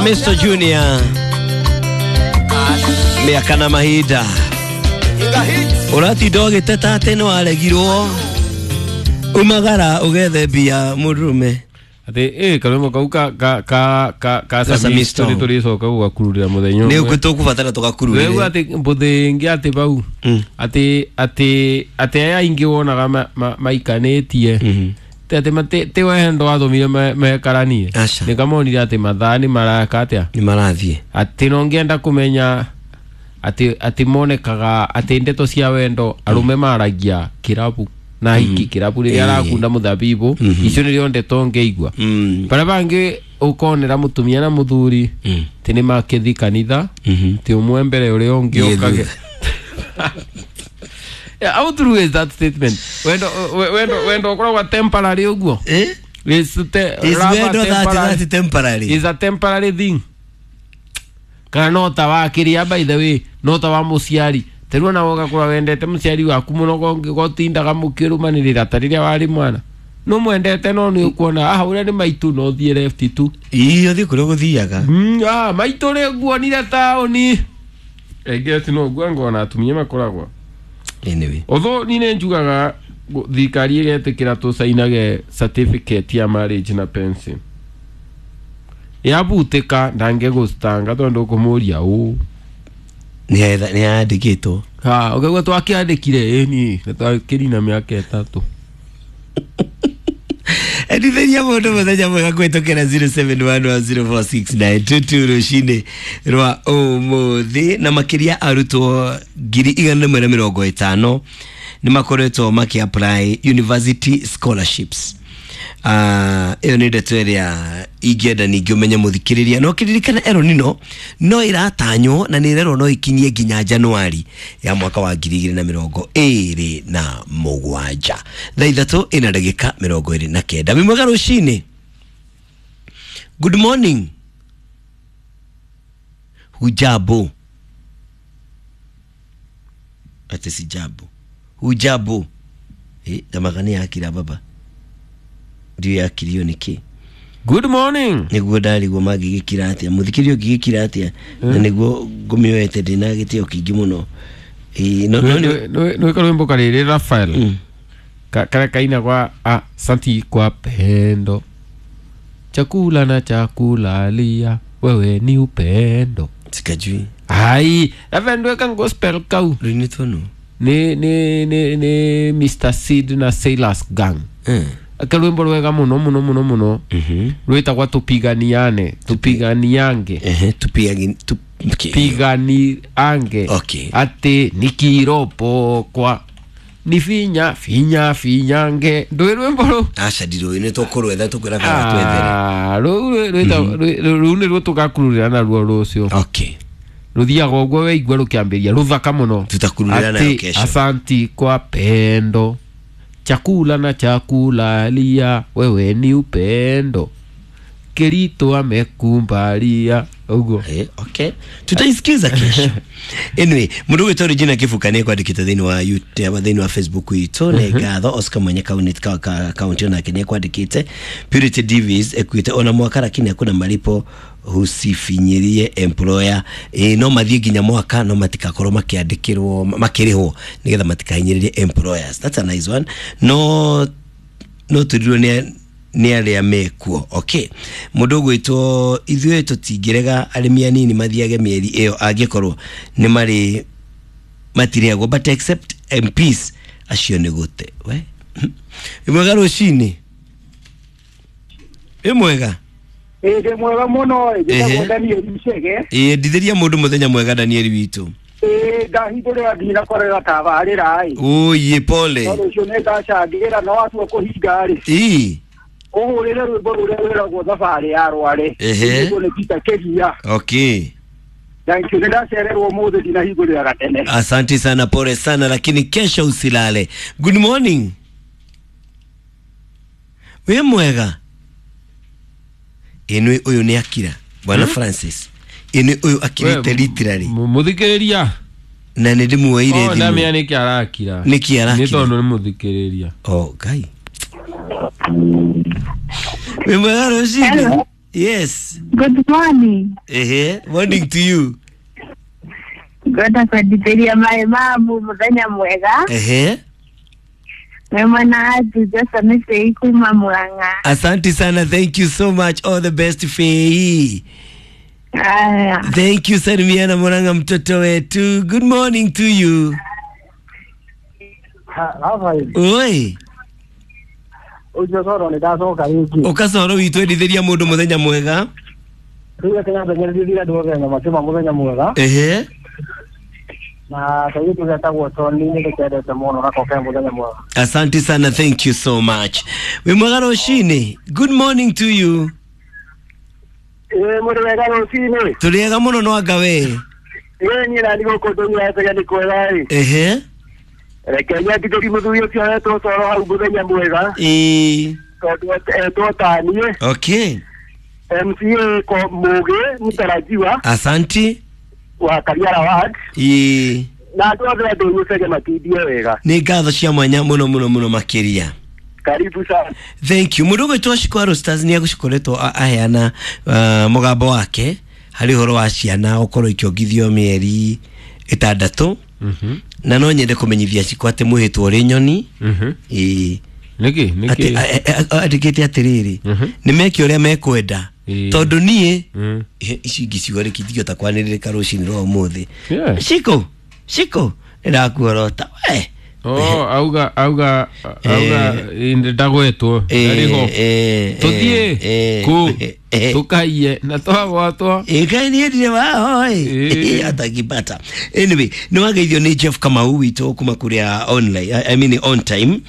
Samisto Junior mĩaka na mahinda ũratinda ũgĩteta atĩ nĩ waregirwo umagara ũgethe mbia mũndũrũme Ati karwimbo kau ka ka ka ka ka Samisto nĩ tũrĩcoka gũgakururĩra mũthenya nĩ ũkũ tũkũbatara tũgakururĩre. Rĩu atĩ mbũthĩ ĩngĩ atĩ bau atĩ atĩ atĩ aya aingĩ wonaga maikanĩtie atĩ ti wendo wathomire mekaranie nĩ kamonire atĩ mathaa nĩ maraka atĩa nĩ marathiĩ atĩ no ngĩenda kũmenya atĩ atĩ monekaga atĩ ndeto cia wendo arũme maragia kĩrabu na hiki kĩrabu rĩrĩa arakunda mũthabibũ icio nĩrĩo ndeto ngĩigua barĩa bangĩ ũkonera mũtumia na mũthuri ti nĩ makĩthi kanitha ti ũmwe mbere ũrĩa ũngĩ ũkage. Yeah, how true is that statement? Wendo wendo wendo ũkoragwo temporary ũguo. Is wendo that temporary. Is a temporary thing. Kana no ta wa kĩrĩa by the way, no ta wa mũciari. Tarĩu ona ũgakora wendete mũciari waku mũno gotindaga mũkĩrũmanĩrĩra ta rĩrĩa warĩ mwana. No mwendete no nĩ ũkuona ah ũrĩa nĩ maitũ no thiĩ left tu. Ii ũthiĩ kũrĩa ũgũthiaga. Ah maitũ rĩ nguonire taũni. Enge ati no nguo ngona atumia makoragwo. Anyway. Although ni nĩ njugaga thirikari ĩgetĩkĩra tũcainage certificate ya marriage na pension. Yabutĩka ndangĩgũcitanga tondũ ũkũmũria ũũ. Nĩ yandĩkĩtwo. Ha, ũkaigua twakĩandĩkire ĩni na twakĩrina mĩaka 3. Endithĩria mũndũ mũthenya mwega kũhĩtũkĩra 0711046922 rũcinĩ rwa ũmũthĩ na makĩria arutwo 150 nĩ makoretwo makĩ apply university scholarships. Ĩyo nĩ ndeto ĩrĩa ingĩenda ningĩ ũmenye mũthikĩrĩria no kĩririkana El Nino no ĩratanywo na nĩ ĩrerwo no ikinyie nginya Januari ya mwaka wa 2027 thaa 3:29. Wĩ mwega rũcinĩ. Good morning. Hujambo. Ate sijambo. Hujambo. Tamagani yakira baba. Ndio yakirio niki. Good morning. Niguo ndarigwo mangĩgĩkira atĩa mũthikĩrio ũngĩgĩkira atĩa na niguo ngũmĩoete ndĩna gĩtĩo kĩingĩ mũno. No nĩ karwĩmbo karĩrĩ Rafael karĩa kaina kwa asanti kwa pendo chakula na chakulalia wewe ni upendo. Sikajui. Ai Rafael ndweka gospel kau rũinĩtwo nũ? Ni Mr Sid na Sailors Gang. Akarwimbo rwega muno muno muno muno rwitagwa tupiganiane tupiganiange tupiganiange. Okay. Ati nikiropo kwa ni finya finya finyange ndwi rwimbo ru aca ndirũĩ nĩ tũkũrwetha tũkwĩra kana twethere rũu nĩruo tũgakururĩra naruo rũciũ. Okay. Rũthiaga ũguo weigua rũkĩambĩrĩria rũthaka mũno tutakururĩra nayo kesho. Asanti kwa pendo chakula na chakulalia wewe ni upendo Kirito amekumbalia uguo. Okay, tutaisikiza kesho. Anyway, mundu gwitwo Regina Kibuka nĩ kwandĩkĩte thĩinĩ wa YouTube thĩinĩ wa Facebook itũ nĩ ngatho. Oscar mwenye kaunti onake nĩ kwandĩkĩte. Purity Davis ekuĩte ona mwaka lakini hakuna malipo husifinyirie employer. No mathiĩ nginya mwaka no matikakorwo makĩandĩkĩrwo makĩrĩhwo nĩgetha matikahinyĩrĩrie employers. That's a nice one. No tũrirwo nĩ arĩa mekuo. Okay. Mũndũ ũgwĩtwo ithuĩ tũtingĩrega arĩmi anini mathiage mĩeri ĩyo angĩkorwo nĩ marĩ matirĩagwo but except MPs acio nĩ gũte. We mwega rũcinĩ. Ĩ mwega. Ĩ mwega mũno. Njĩtagwo Daniel Chege. Ĩ ndithĩria mũndũ mũthenya mwega Daniel witũ. Ĩ ndahingũrĩra ndinakorera tabarĩra ĩ. Ũyĩ pole. Rũciũ nĩ ngacangĩra no watua kũhinga rĩ. Ĩ ũhũrĩre rwĩmbo rũrĩa rwĩragwo thabarĩ ya Rware. Nĩguo nĩ Peter Kĩria. Okay. Thank you. Nĩndacererwo ũmũthĩ ndinahingũrĩra gatene. Asante sana, pole sana lakini kesho usilale. Good morning. Wĩ mwega. Ĩnũ ũyũ nĩ akira Bwana Francis. Ĩnũ ũyũ akirĩte literally. Mũthikĩrĩria. Na nĩ ndĩmuoire thimũ. Ndamenya nĩkĩ arakira. Nĩkĩ arakira? Nĩ tondũ nĩ mũthikĩrĩria. Oh, Ngai. Wĩ mwega rũcinĩ. Yes. Good morning. Ehe, morning to you. Ngwenda kwendithĩria maĩ mamu mũthenya mwega. Ehe. Wĩ mwana atu Johnson Fei kuma Murang'a. Asante sana, thank you so much, all the best Fei. Aya. Thank you, salimiana Murang'a mtoto wetu. Good morning to you. Oi. Ũcio coro nĩ ndacoka rĩngĩ. Ũkacoro witũ endithĩria mũndũ mũthenya mwega. Rĩu reke nyambe nyendithĩrie andũ othe na makĩma mũthenya mwega. Ehe. Na kairĩtu getagwo Tony nĩ ndĩkendete mũno nako ke mũthenya mwega. Asante sana, thank you so much. Wĩ mwega rũcinĩ. Good morning to you. Ĩĩ mũrĩ wega rũcinĩ. Tũrĩ ega mũno no anga we. Ĩĩ niĩ nani gũkũ ndũnyuaga nĩ kwega ĩ. Ehe. Reke nyendithĩrie mũthuri ũcio etwo Coro hau mũthenya mwega. Ĩĩ. Tondũ etwo taniĩ. Okay. MCA ko Mũgĩ mũtarajiwa Asante. wa Kariara Ward. Ĩĩ. Na andũ othe a Ndũnyũ matindie wega. Nĩ ngatho cia mwanya mũno mũno mũno makĩria. Karibu sana. Thank you. Mũndũ ũgwĩtwo Shikwaru Stars nĩ agũcikoretwo aheana mũgambo wake harĩ ũhoro wa ciana gũkorwo ikĩongithio mĩeri 6. Na no nyende kũmenyithia Shiko atĩ mwĩhĩtwo ũrĩ nyoni. Ĩĩ. Nĩkĩ? Atĩ Nĩkĩ? andĩkĩte atĩrĩrĩ, nĩ meke ũrĩa mekwenda tondũ niĩ ici ingĩ ciugo rĩki ingĩhota kwanĩrĩrĩka rũcinĩ rwa ũmũthĩ. Yeah. Shiko, Shiko, nĩndakuorota we. Oh, auga auga auga ndagwetwo ndarĩho tũthiĩ kũ tũkaiye na twagwatwo. Ĩkai niĩ ndirĩ waho ĩ atakipata. Anyway, nĩ wageithio nĩ Jeff Kamau witũ kuma kũrĩa online, I mean on time.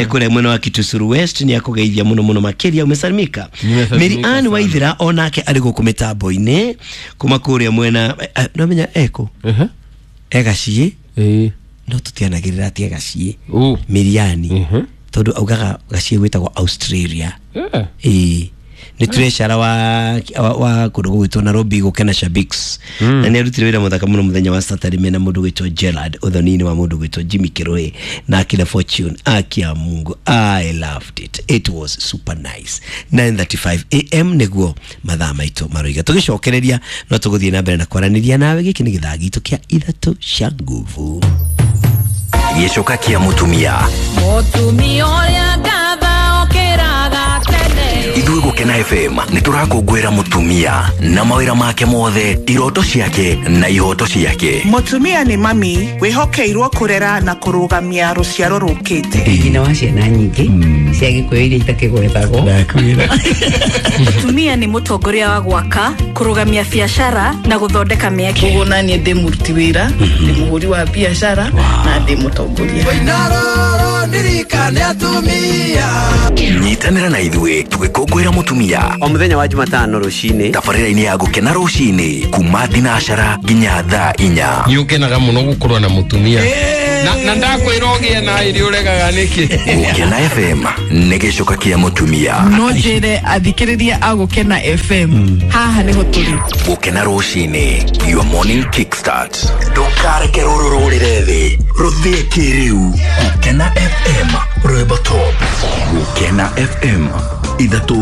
Kũrĩa mwena wa Kitusuru West nĩ akũgeithia mũno mũno makĩria. Umesalimika. Nimesalimika Mary Ann sana. Waithira onake arĩ gũkũ mĩtambo-inĩ kuma kũrĩa mwena nomenya eko egaciĩ no tũtianagĩrĩra atĩ egaciĩ Miriani tondũ augaga gaciĩ gwĩtagwo Australia. Ĩĩ nĩ treasurer wa kũndũ gũgwĩtwo Nairobi gũkena Shabiks. Na nĩ arutire wĩra mũthaka mũno mũthenya wa Saturday mena mũndũ gwĩtwo Gerard ũthoni-inĩ wa mũndũ gwĩtwo Jimmy Kirui na akina Fortune akia Mungu. I loved it, it was super nice. 9:35 am nĩguo mathaa maitũ maroiga. Tũgĩcokereria no tũgũthiĩ na mbere na kwaranĩria nawe. Gĩkĩ nĩ gĩthaa gitũ kĩa ithatũ cia nguvu. Gĩcoka kĩa mũtumia. Mũtumia ũrĩa ngatha okĩraga tene. Ithuĩ Gũkena FM nĩ tũrakũngũĩra mũtumia na mawĩra make mothe, iroto ciake na ihoto ciake. Mũtumia nĩ mami wĩhokeirwo kũrera na kũrũgamia rũciaro rũkĩte. Nyina wa ciana nyingĩ cia Gĩkũyũ iria itakĩgwetagwo. Mũtumia nĩ mũtongoria wa gwaka, kũrũgamia biacara na gũthondeka mĩeke. Koguo naniĩ ndĩ mũruti wĩra, ndĩ mũhũri wa biacara na ndĩ mũtongoria. Nyitanĩra na ithuĩ tũgĩkũngũĩra mũtumia o mũthenya wa Jumatano rũcinĩ tabarĩra-inĩ ya Gũkena rũcinĩ kuma thinacara nginya thaa 4. Nĩ ũkenaga mũno gũkorwo na mũtumia na ndakwĩra ũgĩe na ĩrĩ ũregaga nĩkĩ. Gũkena FM nĩ gĩcoka kĩa mũtumia. No njĩre athikĩrĩria a Gũkena FM haha nĩho tũrĩ. Gũkena rũcinĩ, your morning kickstart. Ndũkareke rũrũ rũrĩre thĩ, rũthĩe kĩrĩu. Gũkena FM, rwĩmbo top. Gũkena FM, ithatũ